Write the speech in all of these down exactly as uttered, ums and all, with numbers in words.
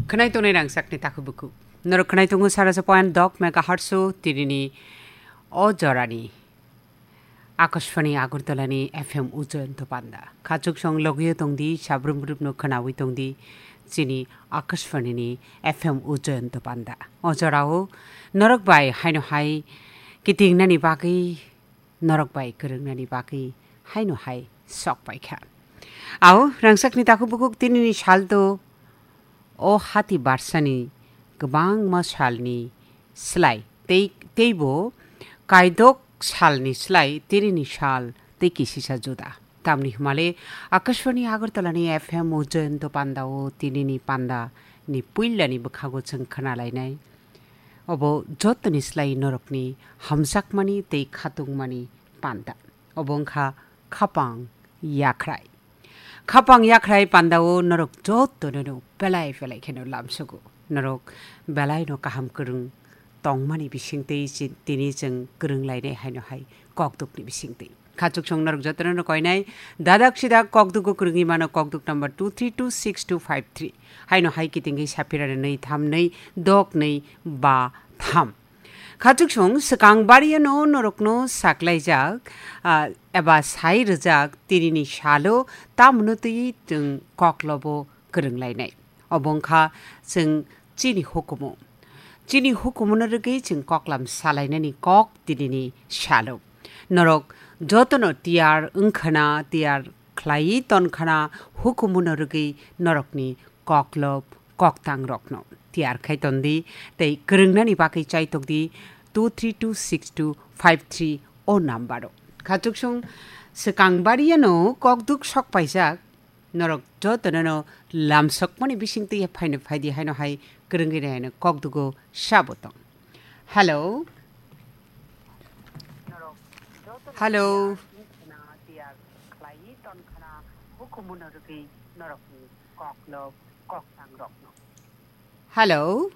Khwnai tongnai rangchakni takhuk bukhuk. Norok khwnai tongo saraja point dok megahertz o tinini o jorani Akashvani Agartala ni F M Ujjayanto Panda. Khachuksong logio tongdi, sabrum brumno khwnawi tongdi, chini Akashvani ni F M Ujjayanto Panda. O jorao norok bai haino hai kitingnani bagwi, norok bai kwrwngnani bagwi haino hai sok paikha. Ao, rangchakni takhuk bukhuk tinini salto o hati barsani kwbangma salni slai tei, teibo kaidok salni slai tinini sal tei kisisa juda. Tamni hwnmale Akashvani Agartala ni F M Ujjayanto Panda o tinini panda ni puilani bwkhago chwng khwnalainai. Obo jotoni slai norokni hamjakmani tei khatungmani panda. Obo wngkha khapang yakhrai. Khapang yakhrai pandao norok jotono no belai belai kheno lamsogo. Norok belai no kaham kwrwng tongmani bisingtwi chi-, tini chwng kwrwng lainai haino hai kokdukni bisingtwi. Khachuksong norok jotono no koinai dadak sidak kokdugo kwrwngwi mano kokduk number two three two six two five three. Haino hai kitingwi saphira nwi tham nwi dok nwi ba tham. Khachuksong swkang bariano norokno saklaijak, ah, eba sai rwjak tinini salo tamno twi chwng koklobo kwrwnglainai. Obo wngkha chwng chini hukumu. Chini hukumuno rwgwi chwng koklam salainani kok tinini salo. Norok jotono tiyar wngkhana, tiyar khlaiwi tonkhana hukumuno rwgwi norokni koklop koktangrokno tiyar khai tondi tei kwrwngnani bagwi chaitokdi two three two six two five three o nambaro. Khachuksong swkang bariano kokduk sok paijak, norok jotono no lamsokmani bisingtwi phaino phaidi haino hai kwrwngwi reheno kokdugo sabo tong. Hello. Hello. Hello.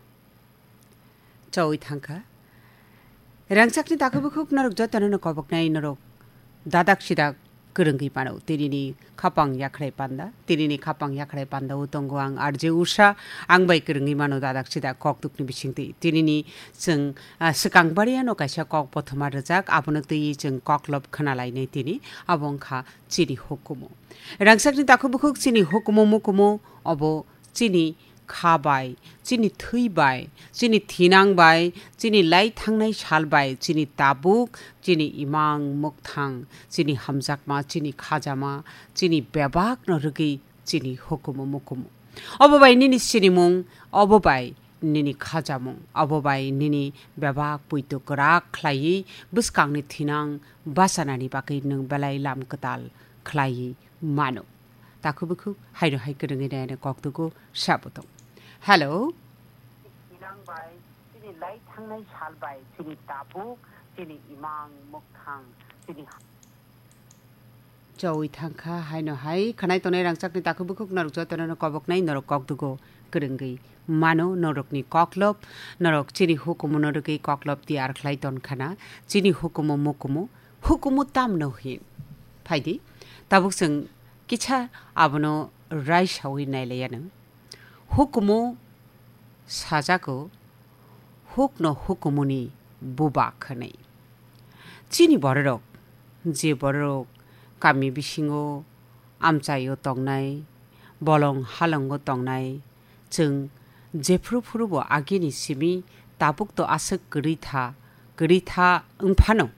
Chawi thangkha. Rangchakni takhuk bukhuk norok jotono no koboknai norok dadak sidak kwrwngwi mano. Tinini khapang yakhrai panda, tinini khapang yakhrai panda o tongo ang R J Usha, ang bai kwrwngwi mano dadak sidak kokdukni bisingtwi. Tinini chwng, ah, swkang bariano kaisa kok bothoma rwjak, abono twiwi chwng koklop khwnalainai tini, abo wngkha chini hukumu. Rangchakni takhuk bukhuk chini hukumu mukumu obo chini kha bai, chini thwi bai, chini thinang bai, chini lai thangnai sal bai, chini tabuk, chini imang mukthang, chini hamjakma, chini khajama, chini bebakno rwgwi chini hukumu mukumu. Obo bai nini sinimung, obo bai nini khajamung, obo bai nini bebak puitu kwrak khlaiwi bwskangni thinang bachanani bagwi nwng belai lam kwtal khlaiwi mano. Takhuk bukhuk haino hai kwrwngwi nai ano kokdugo sabo tong. Hello. Thinang bai, chini lai thangnai sal bai, chini tabuk, chini imang mukthang, chini Chawi thangkha haino hai khwnai tongnai rangchakni takhuk bukhuk norok jotono no koboknai norok kokdugo kwrwngwi mano norokni koklop, norok chini hukumu no rwgwi koklop tiyar khlai tonkhana, chini hukumu mukumu, hukumu tamno hin. Phaidi, tabuk chwng kisa abono raisawi nailaianw. Hukumu sajago, hukno hukumuni buba khwnwi. Chini bororok, je bororok kami bisingo amchaio tongnai, bolong halongo tongnai, chwng jephru phrubo agini simi tabukto aswk kwrwi tha, kwrwi tha wngphano,